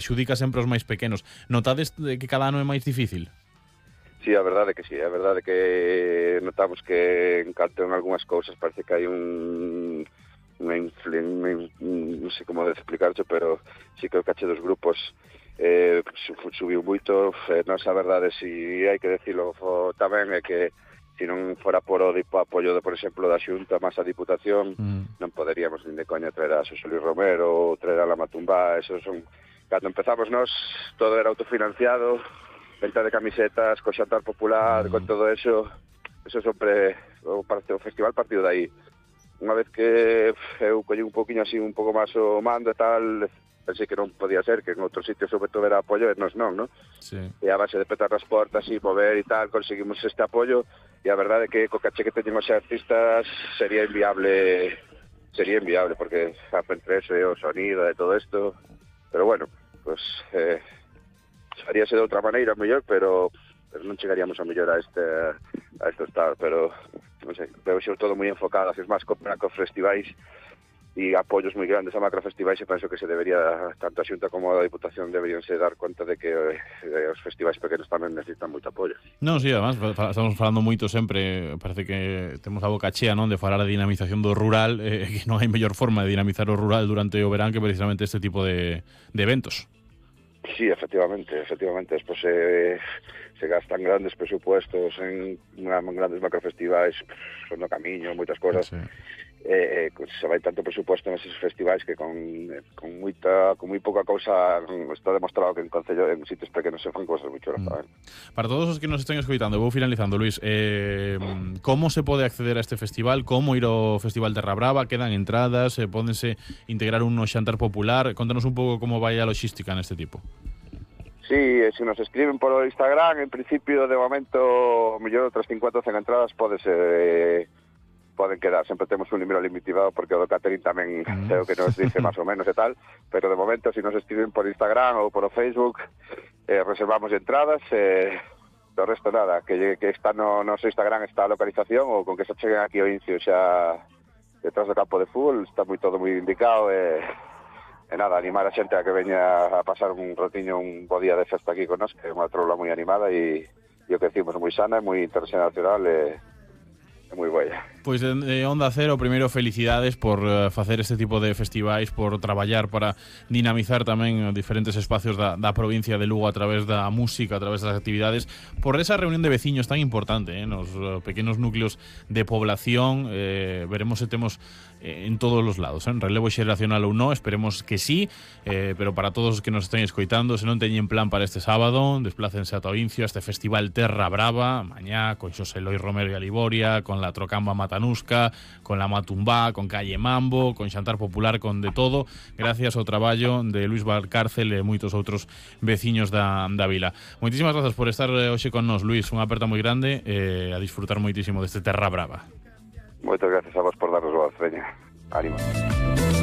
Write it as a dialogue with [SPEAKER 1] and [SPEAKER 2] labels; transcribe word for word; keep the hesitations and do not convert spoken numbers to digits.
[SPEAKER 1] xudica sempre os máis pequenos. Notades que cada ano é máis difícil?
[SPEAKER 2] Sí, a verdade que sí, a verdade que notamos que en canto en algunhas cousas parece que hai un unha influencia, non sei como explicarcho, pero sí que o caché dos grupos eh, subiu moito. Eh, non a verdade, si hai que decirlo tamén, é que se non fora por o apoio, de, por exemplo, da Xunta máis a Diputación, mm. non poderíamos nin de coña traer a Xosé Luis Romero ou traer a La Matumbá. Esos son... Cando empezamos nós, todo era autofinanciado, venta de camisetas, co xantar popular, mm. con todo eso. Eso sempre... O, o festival partido de aí. Unha vez que eu collí un poquinho así, un pouco máis o mando e tal, pensei que non podía ser, que en outros sitios sobre todo era apoio, e nos non, non?
[SPEAKER 1] Sí.
[SPEAKER 2] E a base de petar as portas e mover e tal, conseguimos este apoio, e a verdade é que co caché que teñen os artistas sería inviable, sería inviable, porque entre eso e o sonido e todo isto, pero bueno, pues eh, haríase de outra maneira mellor, pero, pero non chegaríamos a mellor a este a este estado, pero non sei, veo xo todo moi enfocado, haces máis con macro festivais e apoios moi grandes a macro festivais, e penso que se debería, tanto a Xunta como a Diputación deberían se dar conta de que eh, os festivais pequenos tamén necesitan moito apoio.
[SPEAKER 1] Non, si, sí, además, estamos falando moito sempre, parece que temos a boca chea, non, de falar a dinamización do rural, eh, que non hai mellor forma de dinamizar o rural durante o verán que precisamente este tipo de, de eventos.
[SPEAKER 2] Sí, efectivamente, efectivamente. Despois eh, se gastan grandes presupuestos en, en grandes macrofestivais, son no camiño, moitas cosas. Sí. Eh, se vai tanto presupuesto neses festivais que con, con moita con moi pouca cousa está demostrado que en concello, en sitios pequenos se fan cousas moi chulas.
[SPEAKER 1] Mm. Para todos os que nos estén escoitando, vou finalizando, Luis, eh, como se pode acceder a este festival? Como ir ao Festival Terra Brava? Quedan entradas? Eh, pódense integrar un no xantar popular? Contanos un pouco como vai a logística neste tipo.
[SPEAKER 2] Sí, se nos escriben por Instagram, en principio, de momento, mellor outras cincuenta cen entradas pode ser... Eh, poden quedar, sempre temos un número limitado porque o do catering tamén mm. é o que nos dice máis ou menos e tal, pero de momento se nos escriben por Instagram ou por o Facebook eh, reservamos entradas e eh, do resto nada, que, que está no noso Instagram está a localización, ou con que se cheguen aquí ao Incio xa detrás do campo de fútbol, está moi todo moi indicado e, e nada, animar a xente a que veña a pasar un rotiño, un bo día de festa aquí con nós, que é unha troula moi animada e, e o que decimos moi sana, moi internacional e é moi boa.
[SPEAKER 1] Pois de, de Onda Cero, primeiro felicidades por uh, facer este tipo de festivais, por traballar para dinamizar tamén diferentes espacios da, da provincia de Lugo a través da música, a través das actividades, por esa reunión de veciños tan importante, eh, nos uh, pequenos núcleos de población. eh, veremos se temos eh, en todos os lados, eh, en relevo xeracional ou non, esperemos que sí, eh, pero para todos os que nos estén escoitando, se non teñen plan para este sábado, desplácense a Toincio, a este Festival Terra Brava, mañá con Xosé Luis Romero e a Liboria, con la Trocamba Matanusca, con la Matumbá, con Calle Mambo, con Xantar Popular, con de todo, gracias ao traballo de Luis Valcárcel e moitos outros veciños da, da vila. Moitísimas grazas por estar hoxe con nos, Luis, unha aperta moi grande e eh, a disfrutar moitísimo deste Terra Brava.
[SPEAKER 2] Moitas gracias a vos por darnos voz, veña. Ánimo.